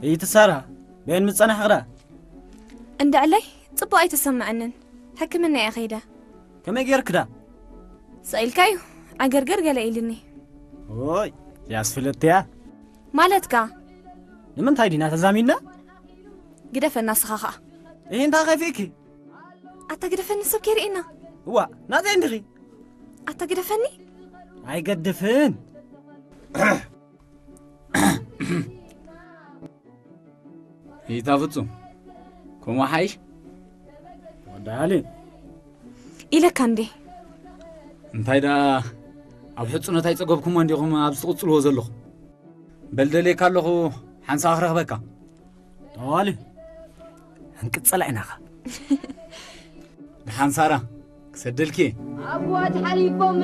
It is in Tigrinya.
እይቲ ሳራ፣ በየን ምጸናሕ ኽዳ? እንድዕለይ፣ ጽቡቕ ኣይተሰምዐንን። ሕክምና እየ ኸይደ። ከመይ ጌርክዳ? ስቕ ኢልካ እዩ። ዓገርገር ገለ ኢልኒ። ኦይ፣ ያስፍለጥያ። ማለትካ? ንምንታይ ዲና ተዛሚድና? ግደፈና ንስኻ ኸኣ። እሂ፣ እንታይ ኸፊእኪ? ኣታ ግደፈኒ፣ ሰብ ከይርእየና። እዋ፣ ናተይ እንዲኺ? ኣታ ግደፈኒ። ኣይገድፍን። ይታ ፍጹም፣ ከምኡ ሓይሽ? ወዲ ዓሊ። ኢለካ እንዴ? እንታይ ደኣ፣ ኣብ ሕጹነት ኣይጸገብኩሞ እንዲኹም ኣብዚ ትቕጽልዎ ዘለኹም? በል ደልየካ ኣለኹ፣ ሓንሳእ ክረኽበካ። ጠዋሊ፣ ክንቅጽላ ኢናኻ። ደሓን ሳራ፣ ክሰደልኪ እየ። ኣቦት ሓሊፎም